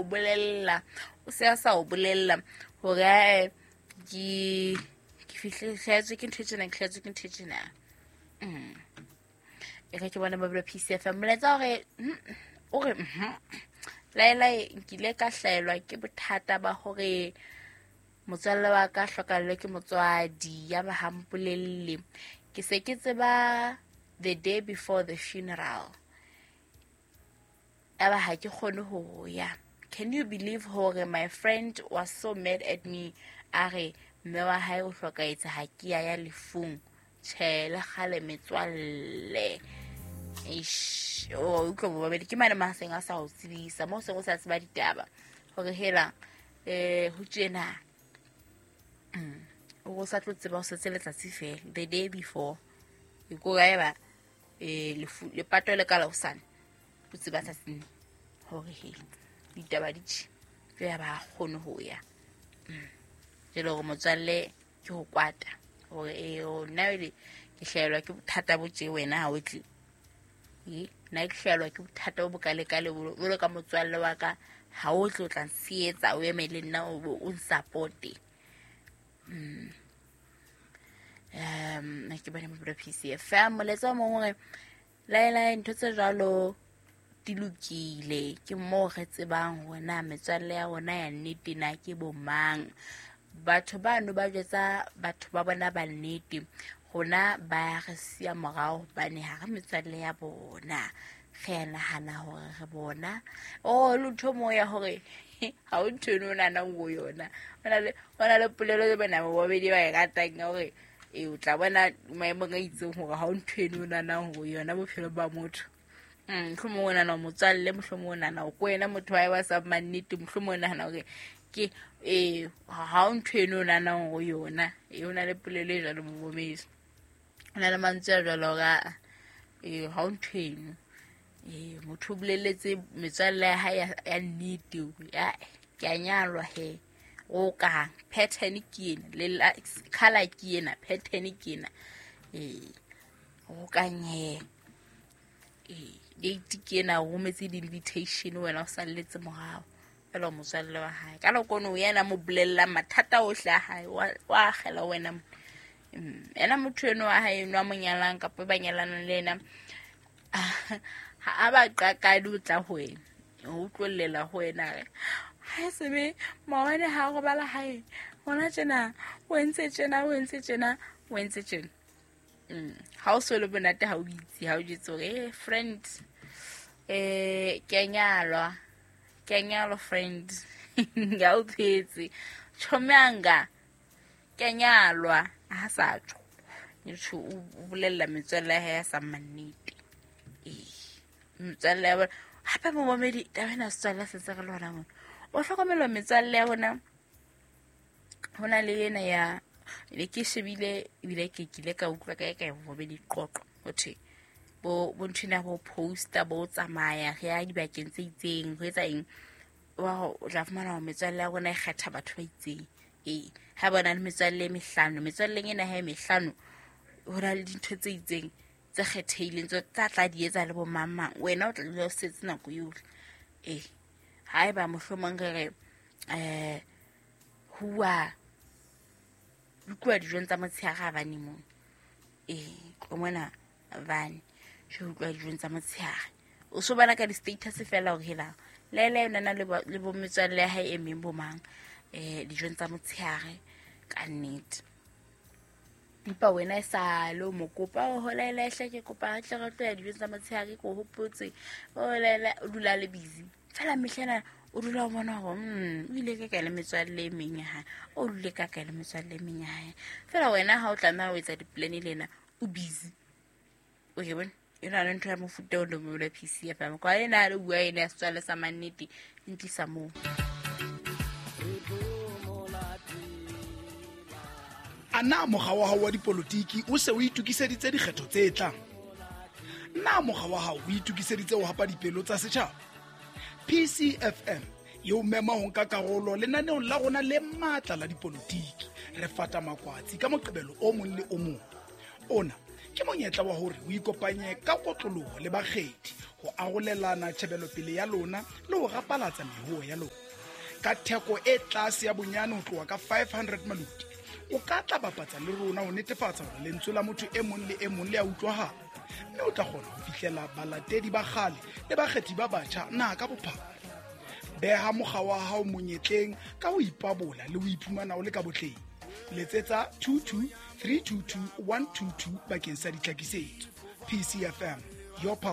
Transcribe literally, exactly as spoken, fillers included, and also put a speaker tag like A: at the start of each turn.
A: o bolella o se a sa o bolella hore ke ke fihle hlahetswe ke ntho e tjena ke hlahetswe ke ntho e tjena. Mm. E re ke bona ba P C F M molaetsa hore o re laela nkile ka hlaelwa ke bothata ba hore motswalle wa ka hlokallwe ke motswadi ya ba ha mpolelle ke se ke tseba the day before the funeral aba ha ke kgone ho ya. Can you believe hore my friend was so mad at me a re mme wa hae o hlokaetse ha ke ya ya lefung tjhe le kgale metswalle. Eish, o utlwa bobedi ke mane maseng a sa o tsebisa mo se go sa tseba ditaba hore hela eh ho tjena o sa tlo tseba o setse letsatsi fela the day before e ko ga eba eh lefu lepato le ka la hosane o tseba tsatsing hore hela ditaba di tjhe ke ya ba kgone ho ya jelo hore motswalle ke ho kwata hore eh nna le ke hlaelwa ke bothata bo tje wena ha o tle e nna ke hlaelwa ke bothata bo bokale kale bo ka motswalle wa ka ha o tlo tla nsietsa o eme le nna o o nsupport. Mm. Um ke bone mo P C F M moletsa mo hore laela ntho tse jwalo di lokile ke mo re tsebang hore na metswalle ya rona ya nnete na ke bo mang. Batho bano ba jwetsa batho ba bona ba nnete rona ba re siya morao hobane ha re metswalle ya bona re a nahana hore re bona o lotho mo ya hore ha o ntho eno o nahanang ho yona. Hona le hona le polelo e bona ba babedi ba e ratang ya hore e o tla bona maemong a itseng hore ha o ntho eno o nahanang ho yona bophelo ba motho. Mm mohlomong o nahana motswalle mohlomong o nahana ko wena motho wa wa sa mannete mohlomong o nahana hore ke eh ha o ntho eno o nahanang ho yona e o na le polelo e jwalo momedi o na le mantswe a jwalo hore eh ha o ntho eno eh motho o boleletse metswalle ya hae ya nnete ya ke a nyalwa he o ka pattern ke ena le color ke ena pattern ke ena eh o ka nye eh date ke ena o rometse di-invitation wena o salletse morao fela motswalle wa hae ka nako yena mo bolella mathata ohle a hae wa akgela wena ena motho eno wa hae eno a mo nyalang kapa ba nyalanang le ena ha a ba qakadi o tla ho wena o utlwellela ho wena re ha sebe maobane ha robala hae hona tjena o entse tjena o entse tjena o entse tjena. Mm ha o so le bonate ha o itse ha o jetse hore eh friend eh ke nyalwa ke nyalwa friend ya o phetse chomanga ke nyalwa ha sa tsho ntsho o bolella metswalle ya sa mannete eh metswalle ya bona hape momamedi taba ena setswalle se se re lona mona o hlokomela metswalle ya bona hona le ena ya le ke shebile ebile ke kile ka utlwa ka ka momamedi qoqo ho thwe bo bo nthwena bo poster bo tsamaya re ya dibakeng tse itseng ho etsa eng wa o tla fumana hore metswalle ya rona e kgetha batho ba itseng ee ha bona le metswalle e mehlano metswalleng ena ha e mehlano ho na le dintho tse itseng tse kgethehileng tse tsa tla di etsa le bo mang mang wena o tla dula o setse nako yohle ee haeba mohlomong re re eh huwa utlwa dijong tsa motshehare ha bane mono ee tlo mona bane je utlwa dijong tsa motshehare o so bana ka di-status fela hore helang lele yona le le bo metswalle ya hae e meng bo mang eh dijong tsa motshehare ka nnete empa wena e sa le o mo kopa o holela hle ke kopa tle re tlo ya dijong tsa motshehare ke o hopotse o holela o dula le busy fela mehlena o dula o bona hore mm o ile ka kae le metswalle e meng ya hae o dule ka kae le metswalle e meng ya hae fela wena ha o tlameha ho etsa di-plan lena o busy o ke bone e na le ntho ya mofuta o le P C F M kwa ena le bua ena ya setswalle sa mannete e ntlisa moo.
B: A na mokga wa hao wa dipolotiki o se o itokiseditse dikgetho tse tlang? Na mokga wa hao o itokiseditse ho hapa dipelo tsa setjhaba? P C F M e o mema ho nka karolo lenaneong la rona le matla la dipolotiki. Re fata makwatsi ka Moqebelo o mong le o mong. Ona Ke monyetla wa hore o ikopanye ka kotloloho le bakgethi ho arolelana tjhebelopele ya lona le ho rapalatsa mehoo ya lona. Ka theko e tlase ya bonyane ho tloha ka five hundred maluti, o ka tla bapatsa le rona ho netefatsa hore lentswe la motho e mong le e mong le a utlwahala, mme o tla kgona ho fihlela balatedi ba kgale le bakgethi ba batjha naha ka bophara. Beha mokga wa hao monyetleng ka ho ipabola le ho iphumana o le ka botleng. Letsetsa two two three two two one two two bakeng sa ditlhakisetso. P C F M, your power.